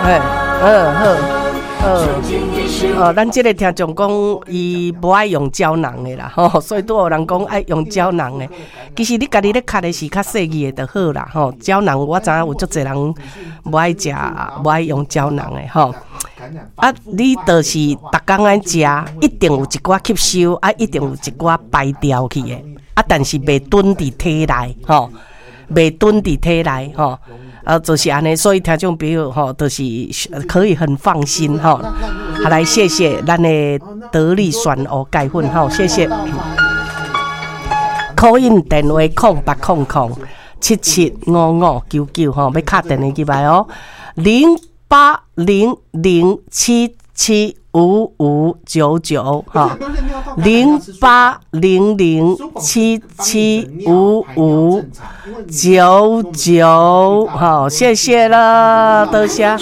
嘿，好好好。哦，咱這个聽眾講，伊無愛用膠囊的啦，吼，所以拄有人講愛用膠囊的。其實你家己咧崁的是較細膩的就好啦，吼。膠囊我知影有足濟人無愛食，無愛用膠囊的，吼。啊，你就是逐工愛食，一定有一寡吸收，啊，一定有一寡排掉去的，啊，但是袂囤佇體內，吼，袂囤佇體內，吼。啊，就是按呢，所以聽眾朋友吼，就是可以很放心吼。好，來謝謝咱的得力選烏鈣粉吼，謝謝。call in 電話0800775599吼，欲敲電話入來哦，0800775599哈，0800775599，好，謝謝了，多謝。